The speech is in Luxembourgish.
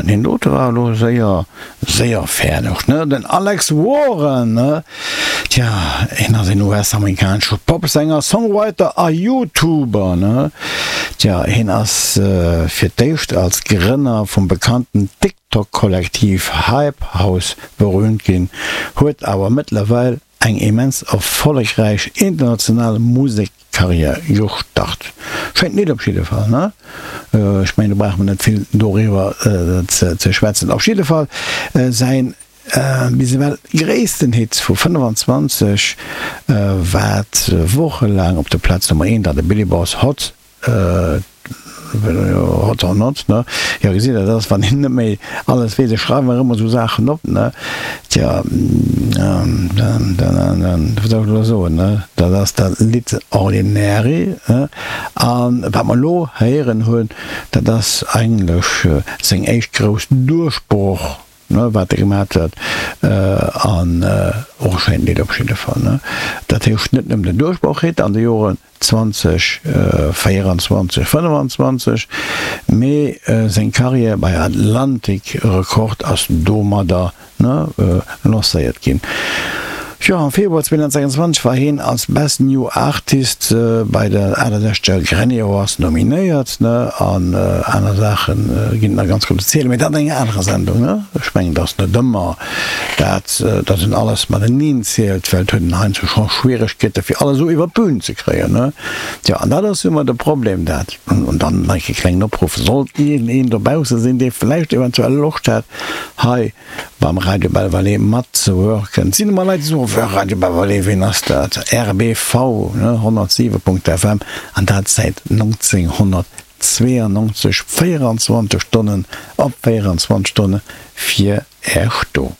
Deen dote war elo séier, séier fäerdeg, ne? Den Alex Warren, ne? Tja, hien ass een US-amerikanesche Popsänger, Songwriter a YouTuber, ne? Tja, hien ass fir d'éischt als Grënner vum bekannten TikTok-Kollektiv Hype House berüümt ginn, huet awer mëttlerweil eng immens erfollegräich international Musekkarriär gestart. Schéint Lidd op jidde Fall, ne? Ech mengen do brauche mer net vill doriwwer ze schwätzen. Op jidde Fall säin bis ewell gréissten Hit vu 25 wat wochelaang op der Plaz Nummer eent an de Billboards Hot Hot or not, ne? Jo, gesitt Der, dat ass, wann een net méi alles weess. Ech schreiwe mer ëmmer esou Saachen op, ne? Tja, dann, dann, dann, wat soll ech elo soen, ne? Dat ass dat Lidd Ordinary, ne? A wat mer elo héieren hunn, dat ass eigentlech seng éischt grouss Duerchbroch, ne, wat e gemat huet, an och e schéint Lidd op jidde Fall, ne? Dat heescht net nëmmen den Duerchbroch-Hit an de Joren 2024, 25, mee seng Karriär bei Atlantic Record ass domadder lancéiert ginn. Jo, am Februar 2026 war hien als Best New Artist bei der 68. Grammy Awards nominéiert, an aner Saache ginn et nach ganz grouss ze zielen, mee dat an enger anerer Sendung. Ech mengen, et ass net ëmmer dat, datt een alles mateneen zielt, well et huet een heiansdo scho Schwieregkeete fir alles esou iwwer d'Bühn ze kréien, ne? Tjo, an dat ass jo ëmmer de Problem, dat. An dann nach e klengen Opruff, Sollt iergendeen dobausse sinn, dee vläicht eventuell Loscht hätt, hei beim Radio Belval matzewirken, et sinn ëmmer Leit, déi soen, Wéi, Radio Belval, ween ass dat? RBV, ne, 107.FM, an dat säit 1992, 24 Stonnen op 24 Stonne fir Äech do.